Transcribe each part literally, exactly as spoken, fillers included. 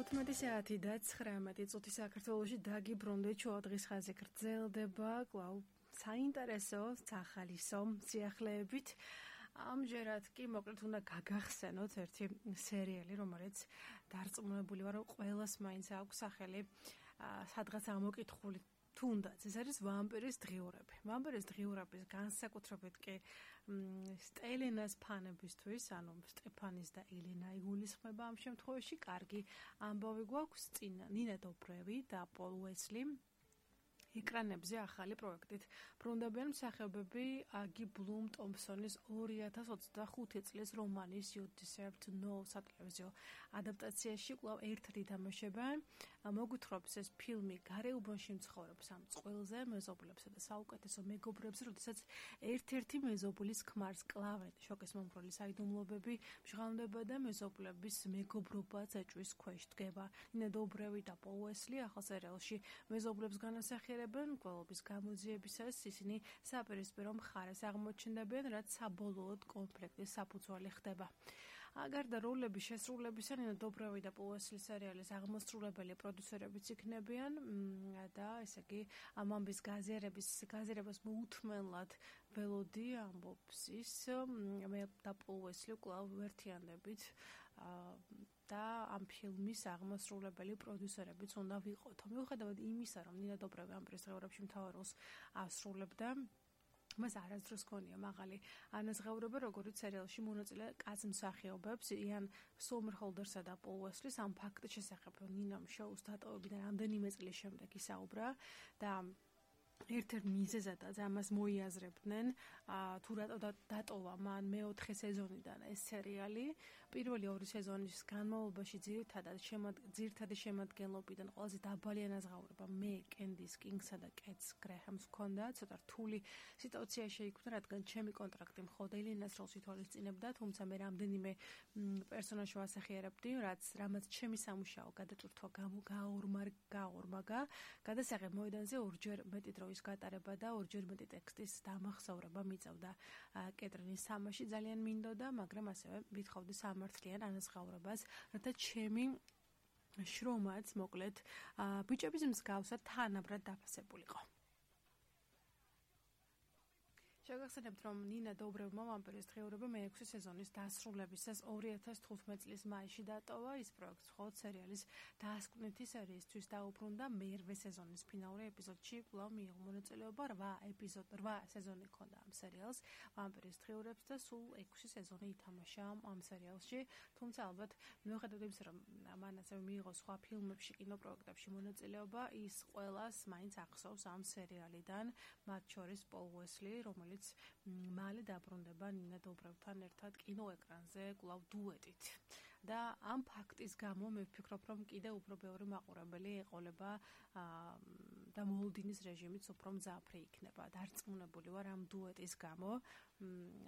თხუთმეტი საათი და ცხრამეტი წუთი საქართველოში დაგიბრუნდით შუა დღის ხაზი გრძელდება კვლავ საინტერესო სახალისო სიახლეებით. ამჯერად კი მოკლედ უნდა გაგახსენოთ ერთი სერიალი, რომელიც დარწმუნებული ვარ, რომ ყველას მაინც აქვს სახელი სადღაც ამოკითხული. თუნდაც ეს არის ვამპირის დღიურები. ვამპირის დღიურების განსაკუთრებით კი სტელენას ფანებისთვის, ანუ სტეფანის და ელენა იგულისხმება ამ შემთხვევაში, კარგი ამბავი გვაქვს წინა ნინა დობრევი და პოლ უესლი. ეკრანებზე ახალი პროექტით ბრუნდებიან მსახიობები აგი ბლუმ ტომპსონის ორი ათას ოცდახუთი წლის რომანის You Deserve to Know სატელევიზიო ადაპტაციაში კვლავ ერთად ითამაშებენ. მოგვითხრობს ეს ფილმი გარეუბანში მცხოვრებს ამ წყვილზე, მეზობლებსა და საუკეთესო მეგობრებზე, როდესაც ერთ-ერთი მეზობლის ქმარს კლავენ შოკის მომხრული საიდუმლოებები მჟღავნდება და მეზობლების მეგობრობა ეჭვის ქვეშ დგება. ნინა დობრევი და პოლ უესლი ახალ სერიალში მეზობლებს განასახიერებენ. გველობის გამოძიებისას ისინი საპირისპირო მხარეს აღმოჩნდებიან, რაც საბოლოოდ კონფლიქტის საფუძველი ხდება. გარდა როლების შესრულებისა, ნინა დობრევი და პოლ უესლის სერიალის აღმასრულებელი პროდიუსერებიც იქნებიან და ესე იგი ამ ამბის გაზიარების გაზიარებას მოუთმენლად ველოდი ამბობს ის მე და პოლ უესლი კვლავ ვერთიანდებით და ამ ფილმის აღმასრულებელი პროდიუსერებიც უნდა ვიყოთ. მიუხედავად იმისა, რომ ნინა დობრევი ვამპირის დღეურებში მთავარ როლს ასრულებდა, მას არასდროს ჰქონია მაღალი ანაზღაურება, როგორც სერიალში მონაწილე კაცმსახიობებს, იან სომერჰოლდერსა და პოლ უესლის. ამ ფაქტის შესახებ ნინამ შოუს დატოვებიდან რამდენიმე წლის შემდეგ ისაუბრა და ერთ-ერთ მიზეზადაც ამას მოიაზრებდნენ, თუ რატო დატოვა მან მეოთხე სეზონიდან ეს სერიალი. პირველი ორი სეზონის განმავლობაში ძირითადად ძირითადი შემადგენლობიდან ყველაზე დაბალი ანაზღაურება მე, კენდის კინგსა და კეტს გრეჰამს ჰქონდა. ცოტა რთული სიტუაცია შეიქმნა, რადგან ჩემი კონტრაქტი მხოლოდ ელენას როლს ითვალისწინებდა, თუმცა მე რამდენიმე პერსონაჟს ვასახიერებდი, რაც რამაც ჩემი სამუშაო გადაწურთვა გაორმაგა. გადასაღებ მოედანზე ორჯერ მეტი ის გატარება და ორჯერ მეტი ტექსტის დამახსოვრება მიწევდა კეტრინის სამაში. ძალიან მინდოდა, მაგრამ ასევე ვითხოვდი სამართლიან ანაზღაურებას, რათა ჩემი შრომაც მოკლედ ბიჭების მსგავსად თანაბრად დაფასებულიყო. შეგახსენებთ, რომ ნინა დობრევმა ვამპირის დღეურები მეექვსე სეზონის დასრულებისას ორი ათას თხუთმეტი წლის მაისში დატოვა. ის პროექტს მხოლოდ სერიალის დასკვნითი სერიისთვის დაუბრუნდა. მერვე სეზონის ფინალური ეპიზოდში კვლავ მიიღო მონაწილეობა. რვა ეპიზოდ, რვა სეზონი ჰქონდა ამ სერიალს ვამპირის დღეურებს და სულ ექვსი სეზონი ითამაშა ამ სერიალში. თუმცა ალბათ მიუხედავად იმისა, რომ მან ასევე მიიღო სხვა ფილმებში, კინოპროექტებში მონაწილეობა, ის ყველას მაინც ახსოვს ამ სერიალიდან, მათ შორის პოლ უესლი, რომელიც მალე დაბრუნდება ნინა დობრევთან ერთად კინოეკრანზე კვლავ დუეტით. და ამ ფაქტის გამო მე ვფიქრობ, რომ კიდევ უფრო ბევრი მაყურებელი ეყოლება და მოლდინის რეჟიმიც უფრო მძაფრი იქნება. დარწმუნებული ვარ ამ დუეტის გამო.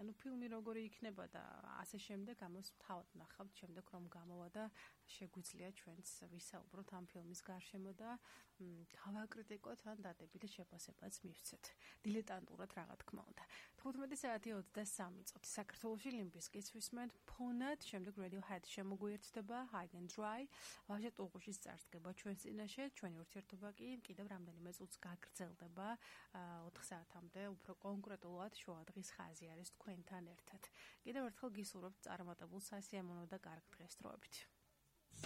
ანუ ფილმი როგორი იქნება და ასე შემდეგ, ამას თავად ნახავთ შემდეგ რომ გამოვა და შეგვიძლია ჩვენც ვისაუბროთ ამ ფილმის გარშემო და გავაკრიტიკოთ ან დადებით შეფასებაც მივცეთ. დილეტანტურად რა თქმა უნდა. თხუთმეტი საათი ოცდასამი წუთი საქართველოში ლიმბისკის ვისმენთ ფონად, შემდეგ Radiohead შემოგვიერთდება High and Dry. ვაჟა ტუღუშის წარსდგება ჩვენს წინაშე, ჩვენი ურთიერთობა კი კიდევ რამდენიმე წუთს გაგრძელდება ოთხ საათამდე, უფრო კონკრეტულად შუა დღის ხაზი არის თქვენთან ერთად. კიდევ ერთხელ გისურვებთ წარმატებულ სასიამოვნო და კარგ დღესდღეობით.